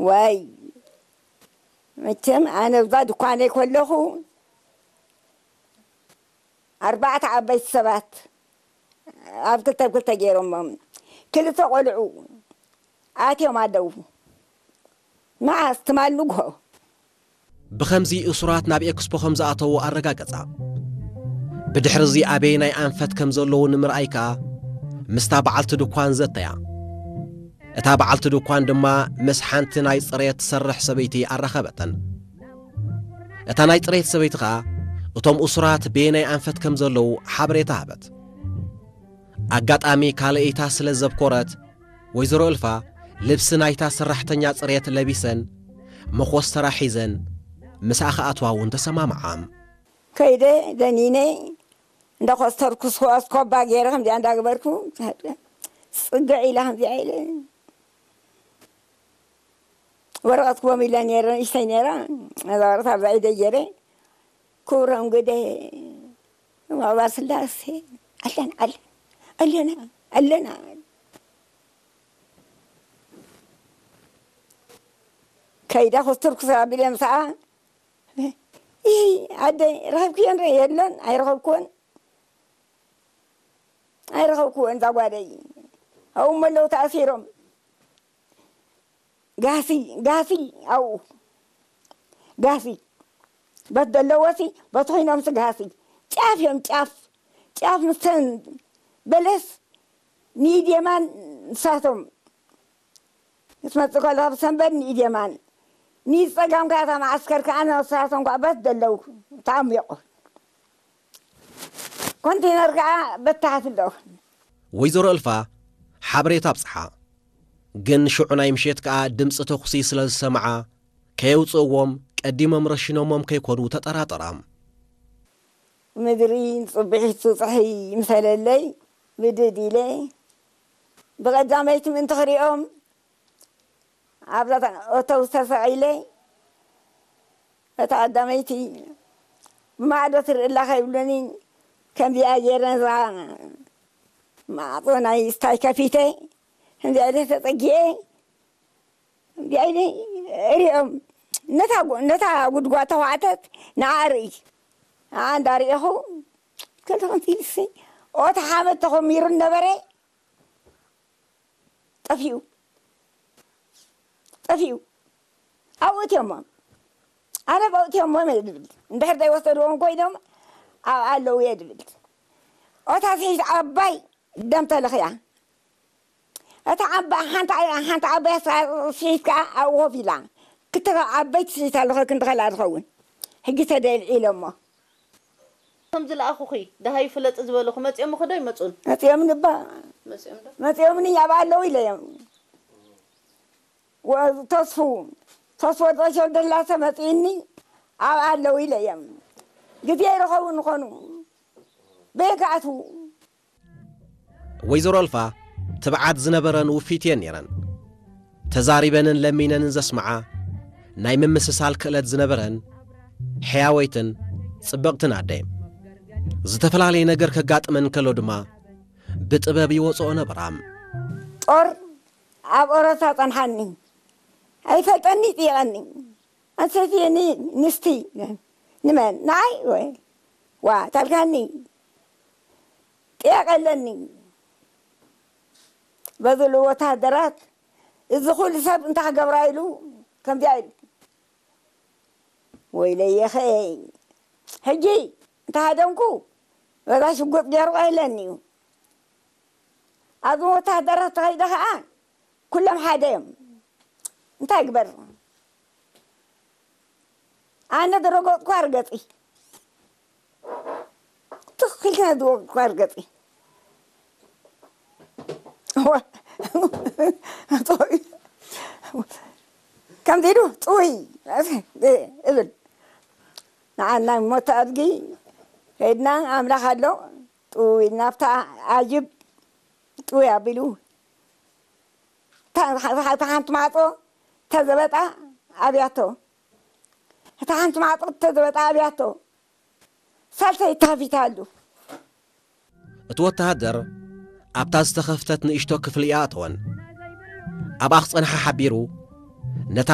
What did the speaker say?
ዋይ፣ መቸም ኣነ ኣብዛ ድኳነይ ከለኹ፣ ኣርባዕተ ዓበይቲ ሰባት ኣብ ክልተ ክልተ ገይሮሞም፣ ክልተ ቆልዑ ኣትዮም ኣለዉ። መዓስ? ትማል ንግሆ። ብኸምዚ እሱራት ናብ ኤክስፖ ከም ዝኣተዉ ኣረጋገጻ። ብድሕርዚ ኣበየናይ ኣንፈት ከም ዘለዉ ንምርኣይ ከኣ ምስታ በዓልቲ ድኳን ዘተያ። እታ በዓልቲ ድኳን ድማ ምስ ሓንቲ ናይ ጽሬት ትሰርሕ ሰበይቲ ኣራኸበተን። እታ ናይ ጽሬት ሰበይቲ ኸኣ እቶም እሱራት በየናይ ኣንፈት ከም ዘለዉ ሓበሬታ ሃበት። ኣጋጣሚ ካልኣይታ ስለ ዘብኮረት፣ ወይዘሮ እልፋ ልብሲ ናይታ ሰራሕተኛ ጽሬት ለቢሰን፣ መኾስተራ ሒዘን፣ ምስኣ ክኣትዋ እውን ተሰማምዓ። ከይደ ደኒነ እንዳኾስተርኩ፣ ስኮባ ገይረ ከምዚኣ እንዳገበርኩ፣ ጽግዕ ኢላ ከምዚኣ ኢለ፣ ወረቐት ክቦም ኢለ ነይረ፣ ንእሽተይ ነይራ። ነዛ ወረቐት ኣብዛ ኢደይ ገይረ፣ ክብሮም ግደ፣ መቕባል ስላሴ፣ ኣለና፣ ኣለና፣ ኣለና፣ ኣለና። ከይዳ ኮስተርኩ ኣቢለ ምስኣ፣ ይይ፣ ኣደይ፣ ረኸብክዮን ዶ? የለን፣ ኣይረኸብክዎን፣ ኣይረኸብክዎን፣ እዛ ጓለይ። ኣብኡ እሞ ኣለዉ ተኣሲሮም። ጋሲ፣ ጋሲ፣ ኣብኡ ጋሲ። በት ዘለዎሲ፣ በቲ ኮይኖምሲ ጋሲ። ጫፍ እዮም፣ ጫፍ። ጫፍ ምስተን በለስ ንኢድ የማን ንሳቶም። ክትመጽእ ከለኻ ብሰንበት ንኢድ የማን። ንኢድ ጸጋም ከኣ እታ መዓስከር ከኣ ንሳቶም ከኣ በት ዘለዉ ተኣሚቑ። ኮንቴነር ከኣ በታሕቲ ኣለዉ። ወይዘሮ እልፋ ሓበሬታ ኣብጽሓ። ግን ሽዑ ናይ ምሸት ከኣ ድምጺ ተኹሲ ስለ ዝሰምዓ፣ ከየውጽእዎም ቀዲሞም ረሺኖሞም ከይኮኑ ተጠራጠራ። ምድሪ ጽብሒቱ ጸሓይ ምሰለለይ ብድድ ኢለ ብቐዳመይቲ ምእንቲ ክሪኦም ኣብዛ ኣውቶቡስ ተሰቒለ እታ ቀዳመይቲ ብማዕዶ ትርኢ ኣላ ከይብሉኒ ከምዚኣ ገይረ ነዛ ማዕጾ ናይ ስታይ ከፊተ ከምዚኣ ኢለ ተጸጊዐ ከምዚኣ ኢለ እሪኦም ነታ ጉ- ነታ ጉድጓድ ተኳዕተት ንዓ ርኢ ንዓ እንዳርኢኹ ከልተ ከምዚ ኢልሲ ኦታ ሓመድ ተኾሚሩ ነበረ ጠፊኡ ጠፊኡ ኣብኡ እትዮሞ ኣነ ኣብኡ እትዮሞ እየ ዝብል እንድሕር ዘይወሰድዎም ኮይኖም ኣብ ኣለዉ እየ ዝብል ኦታ ስሒት ዓባይ ደም ተለኽያ እታ ዓባይ ሓንቲ ሓንቲ ዓባይ ስሒት ከዓ ኣብኡ ኮፍ ኢላ ክልተ ዓበይቲ ስሒት ኣለኸ ክንዲ ከላ ዝኸውን ሕጂ ተደልዒሎሞ እቶም ዝለኣኹኺ ደሃዩ ፍለጢ ዝበሉኺ መፂኦምኺ ዶ ኣይመፁን? መፂኦምኒ እባ መፂኦምኒ ኣብኣ ኣለዉ ኢለዮም። ተስፉ ተስፎ ዶሾ ደላሰ መፂእኒ ኣብኣ ኣለዉ ኢለዮም። ግዜ ይረኸቡ ንኾኑ በየካኣትዉ ወይዘሮ ኣልፋ ትብዓት ዝነበረን ውፊት እየን ነይረን። ተዛሪበንን ለሚነንን ዘስምዓ ናይ ምምስሳል ክእለት ዝነበረን ሕያወይትን ጽብቕትን ኣደ። ዝተፈላለየ ነገር ከጋጥመን ከሎ ድማ ብጥበብ ይወጽኦ ነበራ። ጦር ኣብ ኦረታ ጸንሓኒ ኣይፈልጠኒ ይጥይቐኒ ኣንሰትየኒ ንስቲ ንመን ንዓይ ወይ ዋ ታልካኒ ጥያቄ ኣለኒ በዝሉ ወታደራት እዚ ኩሉ ሰብ እንታይ ክገብራ ኢሉ ከምዚኣ ኢሉ ወይለየኸ ሕጂ እንተ ሃደምኩ በዛ ሽጉጥ ገይሩ ኣይለኒ እዩ ኣብዚ ወታደራት ተኸይደ ከዓ ኩሎም ሓደ እዮም እንታይ ግበር ኣነ ዝረገጥኩ ኣርገፂ ትኽክል ዝወቅጥኩ ኣርገፂ ከምዚ ኢሉ ጥውይ እብል ንዓና ሞት ኣድጊ ከይድና ኣምላኽ ኣሎ ጥውይ ናብታ ኣጅብ ጥውይ ኣቢሉ እታ ሓንቲ ማዕፆ ተዘበጣ ኣብያቶ እታ ሓንቲ ማዕጦ ተዘበጣ ኣብያቶ ሳልሰይ ተኸፊታ ኣሉ። እቲ ወተሃደር ኣብታ ዝተኸፍተት ንእሽቶ ክፍሊ ይኣተወን። ኣብኣ ክጸንሓ ሓቢሩ